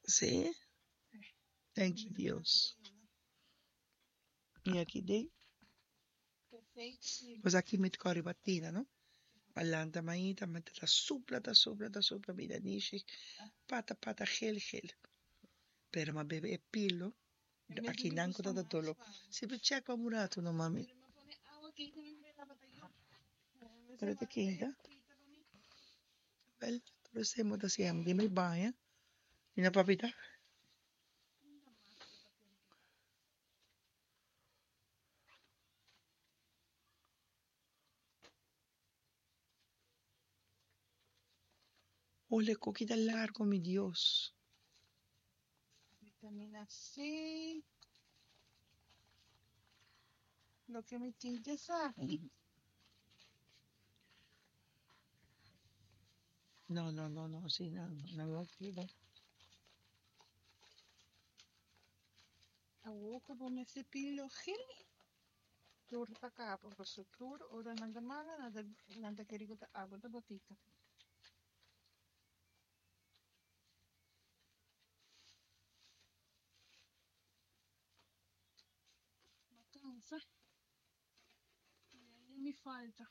Sí? Thank you, Dios. I aki den. Pues aki mi ta kòrda riba tina, no? A lanta mainta, mi ta supla, ta supla, ta supla, mi nanishi pata pata gel gel. Pero mi a bebe e pilo, aki nan ku ta ta dolo. Si bo check pa un ratu no mami. Pero ta keinta. Wel, tur esei bo ta siña mi den mi baña. Mi no papita. Ole koki ta largo mi Dios. Vitamina C. Loke mi tin ke sa. No, no, no, no, si no, no, no, no. Awor ku bo mester pilo gel, tur ta kaba pasobra tur ora nan ta mala nan ta nan ta kere ku ta abo ta botica. Ma kansa, mi falta.